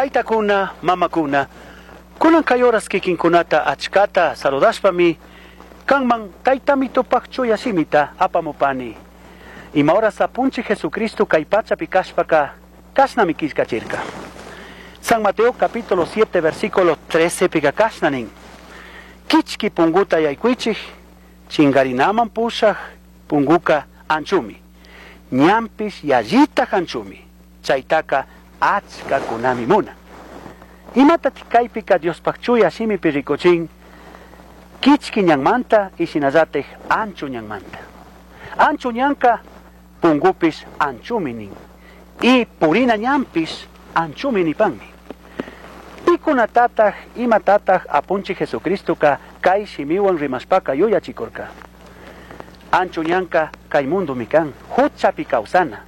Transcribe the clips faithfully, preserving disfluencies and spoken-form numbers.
Taytakuna, mamakuna, kunan kay horas kikinkunata achkata saludashpami, kanman taytamitupaq chuya shimita apamupani. Ima horas apunchik Jesucristo kay pachapi kashpaka, kashnami killkachirka. San Mateo capítulo siete versículo trece pika kashna nin. Kichki punguta yaykuichik, chingarinaman pushaj punguka anchumi. Ñanpish yallita anchumi. Chaytaka achkakunami munan. Imatatik kaypika Diospaq chuya shimipi rikuchin, kichki ñanmanta y shinallatik ancho ñanmanta. Ancho ñanka pungupish anchumi nin. Y purina ñanpish anchumi nipanmi. Pikunatataq imatataq apunchik Jesucristoka kay shimiwan rimashpaka yuyachikurka. Ancho ñanka kay mundumi kan, huchapi kawsana.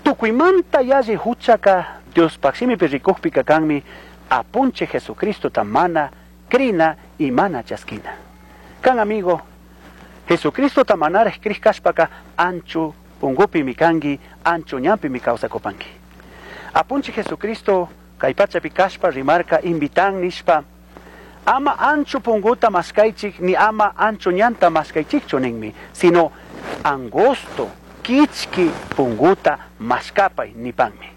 Tukuymanta yalli huchaka Diospaq shimipi rikukpika kanmi apunchik Jesucristota mana krina y mana chaskina. Kan amigo, Jesucristota manaraj krij kashpaka ancho pungupimi kanki, ancho ñanpimi kawsakupanki. Apunchik Jesucristo kay pachapi kashpa rimarka invitan nishpa, ama ancho punguta maskaychik ni ama ancho ñanta maskaychikchu ninmi, sino angosto kichki punguta maskapay nipanmi.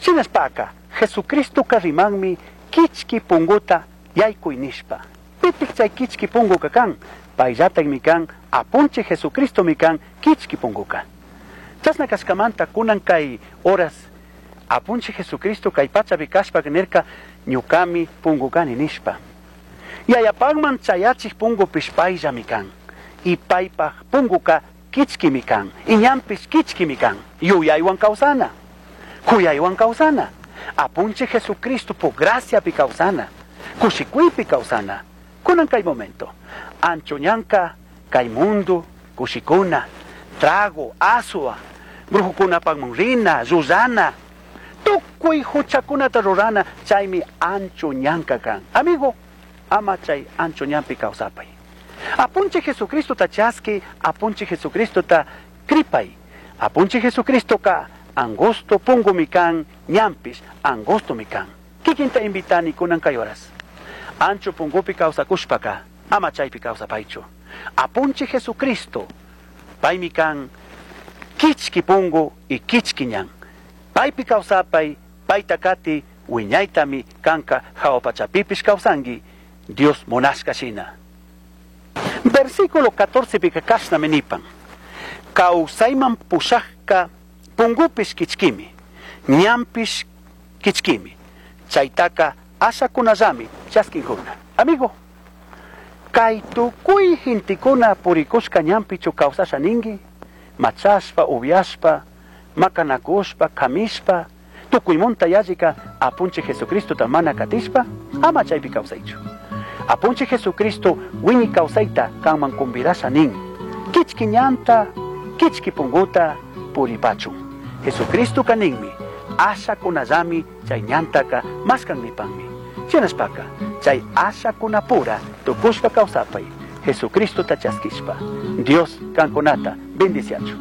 Shinashpaka Jesucristoka rimanmi kichki punguta yaykuy nishpa. Pitik chay kichki punguka kan, payllatakmi kan, apunchik Jesucristomi kan kichki punguka. Chashna kashkamanta kunan kay horas apunchik Jesucristo kay pachapi kashpa nirka ñukami pungukani nishpa. Yayapakman chayachik pungupish payllami kan. Y paypaj punguka kichkimi kan. Y ñanpish kichkimi kan. Yuyaywan kawsana. Kuyaywan kawsana. Apunchik Jesucristo po graciapi kawsana. Kushikuypi kawsana. Kunan kay momento. Ancho ñanka kay mundo kushikuna. Trago, asua, brujukunapakman rina, llullana. Tukuy huchakunata rurana, chaymi ancho ñanka kan. Amigo, ama chay ancho ñanpi kawsapay. Apunchik Jesucristota chaski, apunchik Jesucristota kripay. Apunchik Jesucristoka angosto pungumi kan, ñanpish angostomi kan. Kikinta invitani kunan kay horas. Ancho pungupi kawsakushpaka, ama chaypi kawsapaychu. Apunchik Jesucristo, paymi kan kichki pungu y kichki ñan. Paypi kawsapay, payta kati, wiñaytami kanka hawa pachapipish kawsanki, Dios munashka shina. Versículo catorce pika kashnami nipan. Kawsayman pushajka pungupish kichkimi, ñanpish kichkimi. Chaytaka ashakunallami chaskinkuna. Amigo, kay tukuy gentekuna purikushka ñanpichu kawsasha ninki, machashpa, upiashpa, makanakushpa, kamishpa, tukuymunta yallika apunchik Jesucristota mana katishpa, ama chaypi kawsaychu. Apunchik Jesucristo wiñay kawsayta kanman convidasha nin. Kichki ñanta, kichki punguta puripachun. Jesucristo kaninmi, ashakunallami chay ñantaka maskan nipanmi. Shinashpaka, chay ashakunapura tukushpa kawsapay, Jesucristota chaskishpa. Dios kankunata bendiciachu.